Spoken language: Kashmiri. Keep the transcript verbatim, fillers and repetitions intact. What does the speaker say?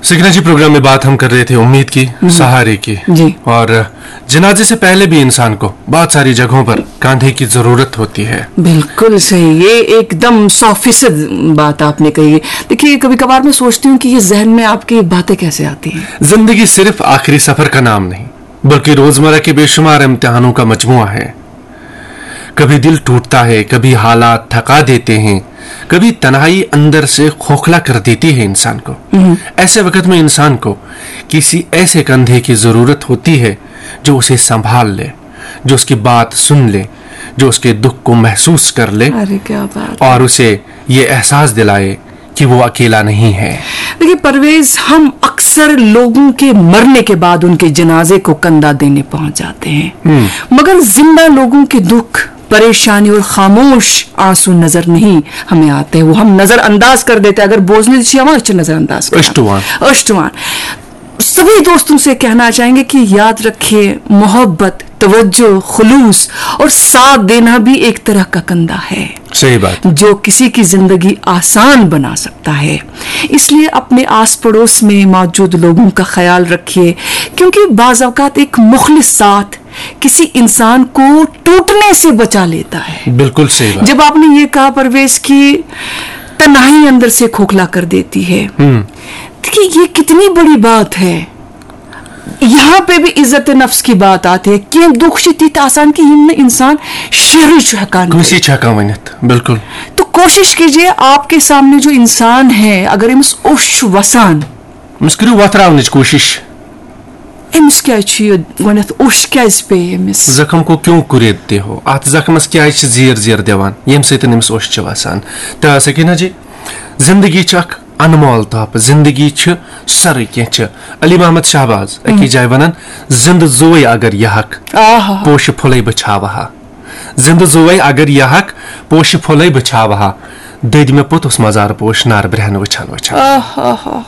سکینہ جی، پروگرام میں بات ہم کر رہے تھے امید کی، سہارے کی۔ جی۔ اور جنازے سے پہلے بھی انसान को बहुत सारी जगहों पर कंधे की जरूरत होती है। बिल्कुल सही, ये एकदम सौ फीसद बात आपने कही है। देखिए, कभी कभार मैं सोचती हूँ कि ये जहन में आपकी बातें कैसे आती हैं। जिंदगी सिर्फ आखिरी सफर का नाम नहीं, बल्कि रोजमर्रा के बेशुमार इम्तिहानों का मजमूआ है। कभी दिल टूटता है, कभी हालात थका देते हैं, कभी तन्हाई अंदर से खोखला कर देती है इंसान को। ऐसे वक्त में इंसान को किसी ऐसे कंधे की जरूरत होती है जो उसे संभाल ले, जो उसकी बात सुन ले, जो उसके दुख को महसूस कर ले अरे, क्या बात। और उसे ये एहसास दिलाए कि वो अकेला नहीं है। देखिए परवेज, हम अक्सर लोगों के मरने के बाद उनके जनाजे को कंधा देने पहुंच जाते हैं, मगर जिंदा लोगों के दुख, परेशानी और खामोश आंसू नजर नहीं हमें आते, वो हम नजरअंदाज कर देते हैं। अगर बोझने छियावा अच्छे नजरअंदाज करना। अष्टवान। अष्टवान। सभी दोस्तों से कहना चाहेंगे कि याद रखिए, मोहब्बत, तवज्जो, खुलूस और साथ देना भी एक तरह का कंधा है, सही बात। जो किसी की जिंदगी आसान बना सकता है। इसलिए अपने आस पड़ोस में मौजूद लोगों का ख्याल रखिए, क्योंकि बाज अवकात एक मुखलिस साथ किसी इंसान को टूटने से बचा लेता है। बिल्कुल सही बात। जब आपने ये कहा परवेज कि तन्हाई अंदर से खोखला कर देती है, देखिए ये कितनी बड़ी बात है। यहाँ पे भी इज्जत नफ्स की बात आती है। کینٛہہ دُکھ چھِ تِتھۍ آسان کہِ یِم نہٕ اِنسان شیرٕے چھُ ہٮ۪کان کٔرِتھ۔ کٲنٛسی چھِ ہٮ۪کان ؤنِتھ، بِلکُل۔ تو کوشش کیجیے، آپ کے سامنے جو انسان ہے، اگر أمِس اوٚش چھُ وَسان، أمِس کٔرِو وۄتھراونٕچ کوٗشِش۔ أمِس کیٛازِ چھُ یہِ گۄڈٕنٮ۪تھ اوٚش کیٛازِ پیٚیہِ أمِس؟ زخم کو کیوں کریدتے ہو؟ اتھ زخمس کیٛازِ چھِ زیر زیر دِوان، ییٚمہِ سۭتۍ أمِس اوٚش چھِ وسان؟ تہٕ سکینہ جی، زندگی چھِ اکھ انمول تحفہٕ، زندگی چھِ سٲرٕے کینٛہہ چھِ۔ علی محمد شہباز أکِس جایہِ ونان، زندٕ زُوے اگر یہِ ہک، آہا۔ پوشہِ پھُلے بہٕ چھاوٕ ہا۔ زندٕ زُوے اگر یہِ ہک، پوشہِ پھُلے بہٕ چھاوٕ ہا۔ دٔدۍ مےٚ پوٚتُس مزارٕ پوش نار برٛہن وٕچھان وٕچھان۔ آہا۔